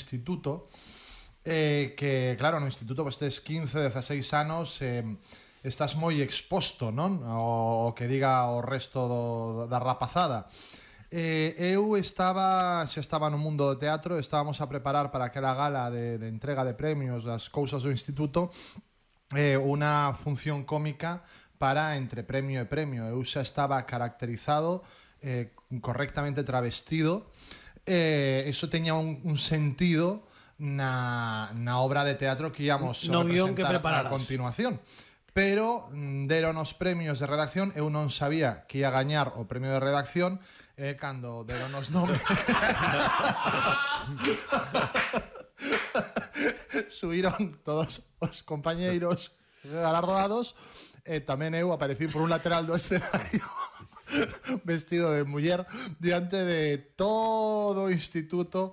instituto, que, claro, no instituto pues tes 15, 16 anos, estás moi exposto, non? O que diga o resto da rapazada. Eu xa estaba no mundo do teatro, estábamos a preparar para aquela gala de entrega de premios das cousas do instituto, unha función cómica para entre premio e premio. Eu xa estaba caracterizado, correctamente travestido, eso teña un sentido na obra de teatro que íamos a representar a continuación. Pero deron os premios de redacción, eu non sabía que ia gañar o premio de redacción, cando deron os nomes subiron todos os compañeiros galardoados, e tamén eu aparecí por un lateral do escenario vestido de muller diante de todo o instituto,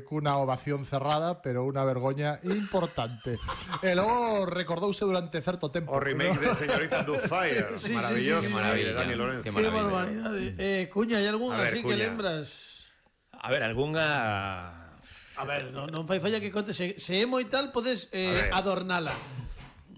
cunha ovación cerrada, pero unha vergoña importante. E logo recordouse durante certo tempo o remake de Señorita Doubtfire. Maravilloso, maravilla, Dani Lorenzo. Qué barbaridade. Cuña, hai algunha así que lembras? A ver, algunha... A ver, non fai falla que conte. Se é moi tal, podes adornala.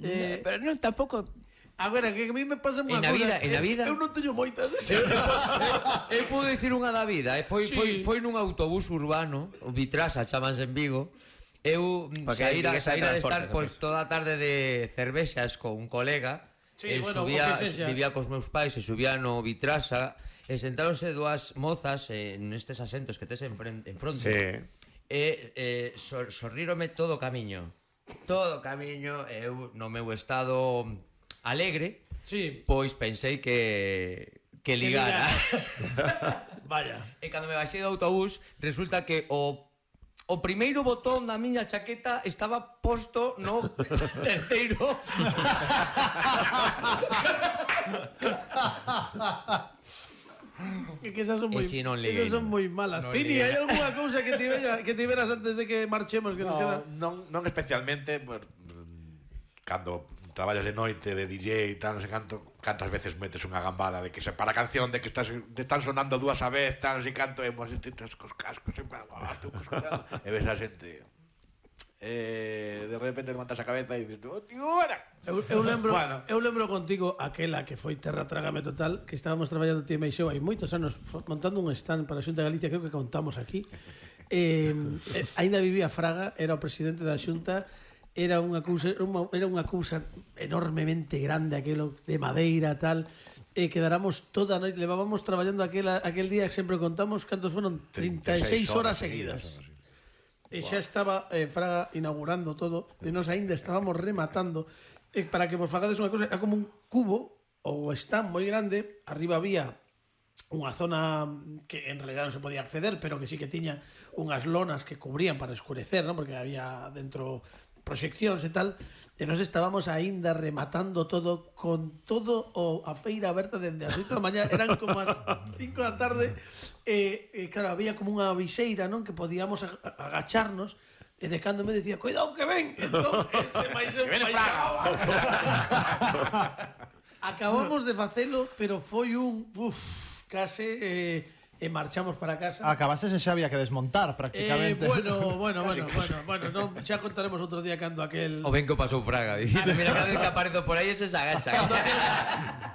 Pero non, tampouco... A ver, que a mí me pasa unha cosa. En a vida eu non teño moitas. Eu podo dicir unha da vida. Foi nun autobús urbano, o Vitrasa, chamanse en Vigo. Eu saíra de estar toda a tarde de cervexas con un colega. Vivía cos meus pais e subía no Vitrasa, e sentáronse dúas mozas nestes asentos que tes en fronte. E sorrírome todo o camiño. Todo o camiño. Eu no meu estado alegre, pois pensei que ligara. Vaya. E cando me baixei do autobús, resulta que o primeiro botón da miña chaqueta estaba posto no terceiro. Que esas son moi malas. Pini, hai algunha cousa que te veras antes de que marchemos? Non especialmente, cando traballas de noite de DJ e tal, non sei cantas veces metes unha gambada de que se para a canción de que están sonando dúas a vez, tal, non sei canto, e mos estás cos cascos sempre, e ves a xente, de repente levantas a cabeza e dices, oh, tío, eu lembro contigo aquela que foi Terra Trágame Total, que estábamos traballando ti e Meixeu hai moitos anos montando un stand para a Xunta de Galicia, creo que contamos aquí. Ainda vivía Fraga, era o presidente da Xunta. Era unha cousa enormemente grande, aquelo de madeira tal, quedáramos toda a noite, levábamos traballando aquel día que sempre contamos cantos foron 36 horas seguidas. E xa estaba Fraga inaugurando todo, e nos aínda estábamos rematando. Para que vos fagades unha cousa, era como un cubo ou stand moi grande, arriba había unha zona que en realidad non se podía acceder, pero que sí que tiña unhas lonas que cubrían para escurecer, ¿no? Porque había dentro proxeccións e tal, e nos estábamos aínda rematando todo con todo a feira aberta dende as 8 da mañá, eran como as 5 da tarde, e claro, había como unha viseira, non, que podíamos agacharnos, e de cando me decía, cuidado que ven, entón, que ven Fraga. Acabamos de facelo, pero foi case e marchamos para casa. Acabaste e xa había que desmontar prácticamente. Bueno, non, xa contaremos outro día cando aquel... O ben que pasou Fraga, dicindo, mira, cada vez que aparezo por aí se agacha.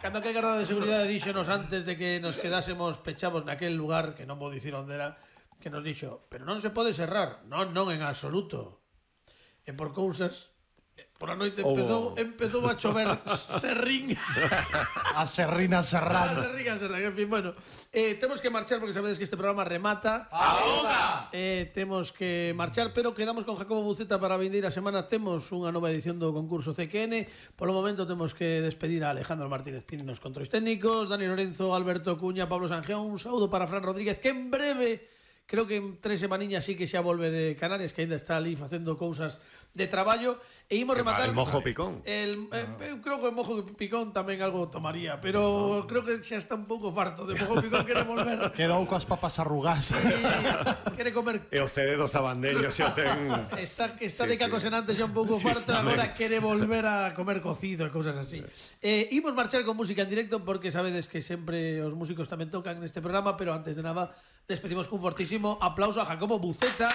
Cando aquel garda de seguridade díxonos antes de que nos quedásemos pechados naquel lugar, que non vou dicir onde era, que nos dixo, pero non se pode cerrar. Non, en absoluto. E por cousas... Por a noite empezou a chover serrín. A serrina serrán. En fin, bueno, temos que marchar porque sabedes que este programa remata. ¡Ahoga! Temos que marchar, pero quedamos con Jacobo Buceta para a vindeira semana. Temos unha nova edición do concurso CQN. Polo momento temos que despedir a Alejandro Martínez Pini nos controis técnicos, Dani Lorenzo, Alberto Cuña, Pablo Sanjeón. Un saúdo para Fran Rodríguez, que en breve... Creo que en 3 semaniñas sí que xa volve de Canarias, que ainda está ali facendo cousas de traballo. E imos rematar el Mojo Picón. Eu creo que o Mojo Picón tamén algo tomaría, pero creo que xa está un pouco farto de Mojo Picón, quere volver. Quedou coas papas arrugadas. Quere comer. E o CD dos abandellos xa ten. Está de cacosenante xa un pouco farto, agora quere volver a comer cocido e cousas así. Imos marchar con música en directo porque sabedes que sempre os músicos tamén tocan neste programa, pero antes de nada despedimos cun fortísimo aplauso a Jacobo Buceta.